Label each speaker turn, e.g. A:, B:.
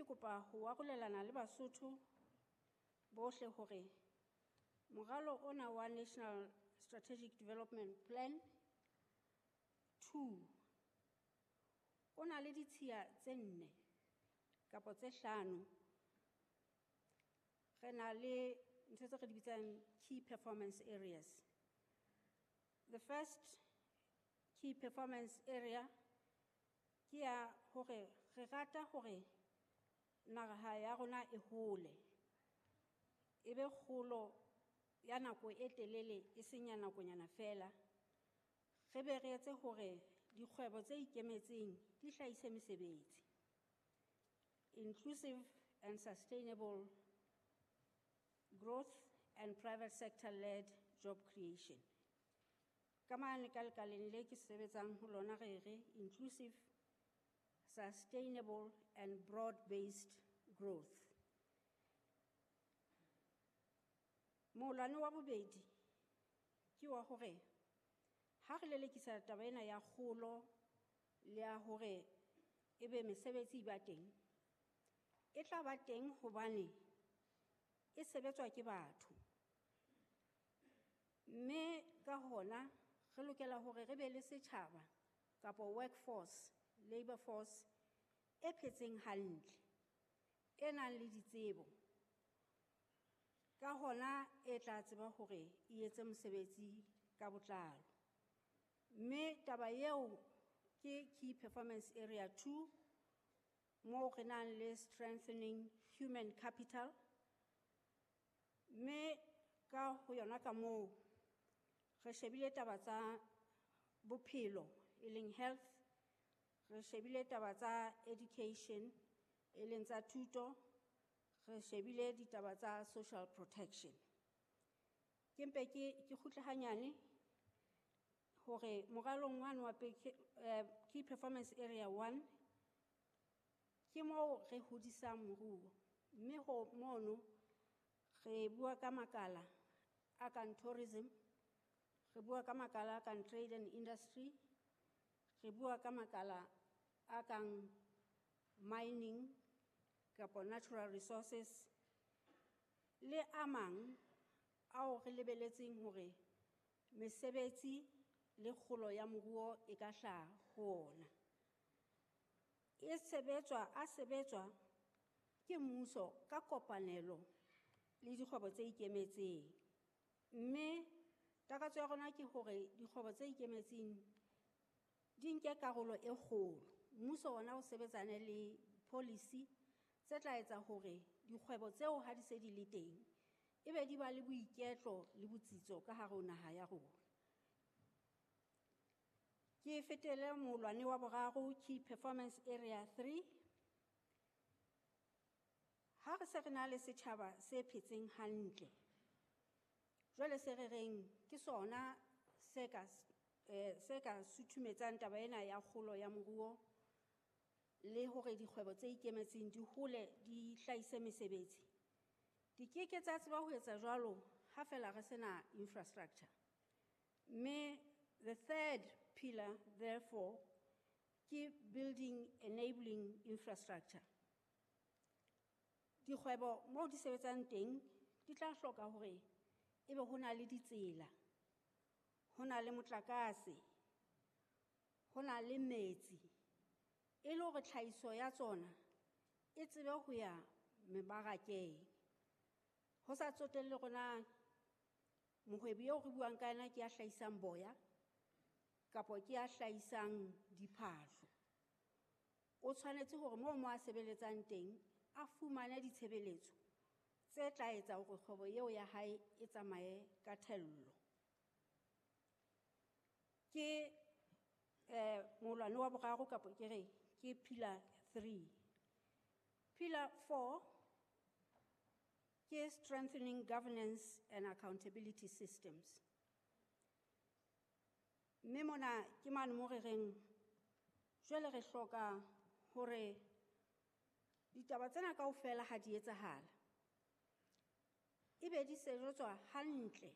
A: kopa ho arolelana le Basotho bohle hore moralo ona wa National Strategic Development Plan 2 o na le ditshiya tse 4 kapa tse 5. Re na le ntho tse re di bitsang key performance areas. The first key performance area ke ya hore re rata hore naha ya rona e hole, e be kgolo ya nako e telele, e seng ya nakonyana fela. Re be re etse hore dikgwebo tse ikemetseng di hlahise mesebetsi. Inclusive and sustainable growth and private sector-led job creation. Ka mane ka lekaleng le ke sebetsang ho lona re re inclusive, sustainable and broad-based growth. Molwane wa bobedi ke wa hore ha re lelekisa taba ena ya kgolo le ya hore ebe mesebetsi e ba teng, e tla ba teng hobane e sebetswa ke batho. Mme ka hona re lokela hore re be le setjhaba kapa workforce, labor force e phetseng hantle, e nang le ditsebo. Ka hona e tla tseba hore e etse mosebetsi ka botlalo. Mme taba eo ke key performance area 2, moo re nang le strengthening human capital. Mme ka ho yona ka moo re shebile taba tsa bophelo e leng health, re shebile taba tsa education e leng tsa thuto, re shebile ditaba tsa social protection. Ke mpe ke kgutle hanyane hore moralong wane wa key performance area 1 ke moo re hodisang moruo, mme ho mono re bua ka makala a kang tourism, re bua ka makala a kang trade and industry, re bua ka makala a kang mining kapa natural resources le a mang ao re lebeletseng hore mesebetsi le kgolo ya moruo e ka hlaha ho ona. E sebetswa, a sebetswa ke mmuso ka kopanelo le dikgwebo tse ikemetseng. Mme takatso ya rona ke hore dikgwebo tse ikemetseng di nke karolo e kgolo. Mmuso ona o sebetsane le policy tse tla etsa hore dikgwebo tseo ha di se di le teng ebe di ba le boiketlo le botsitso ka hare ho naha ya rona. Ke fetele molwane wa boraro, key performance area 3. Ha re se re na le setjhaba se phetseng hantle, jwale se re reng ke sona se ka suthumetsang taba ena ya kgolo ya moruo le hore dikgwebo tse ikemetseng di hole di hlahise mesebetsi. Di keke tsa tseba ho etsa jwalo ha fela re sena infrastructure. Mme the third pillar, therefore, ke building enabling infrastructure. Dikgwebo moo di sebetsang teng di tla hloka hore ebe ho na le ditsela, ho na le motlakase, ho na le metsi, e le hore tlhahiso ya tsona e tsebe ho ya mebarakeng. Ho sa tsotelle hore na mohwebi eo re buang ka yena ke ya hlahisang boya kapa ke ya hlahisang diphahlo. O tshwanetse hore moo mo a sebeletsang teng a fumane ditshebeletso tse tla etsa hore kgwebo eo ya hae e tsamaye ka thello. Ke molwane wa boraro kapa ke re ke pillar 3. Pillar 4 ke strengthening governance and accountability systems. Mme mona ke mane mo re reng jwale re hloka hore ditaba tsena kaofela ha di etsahala ebe di sejetswa hantle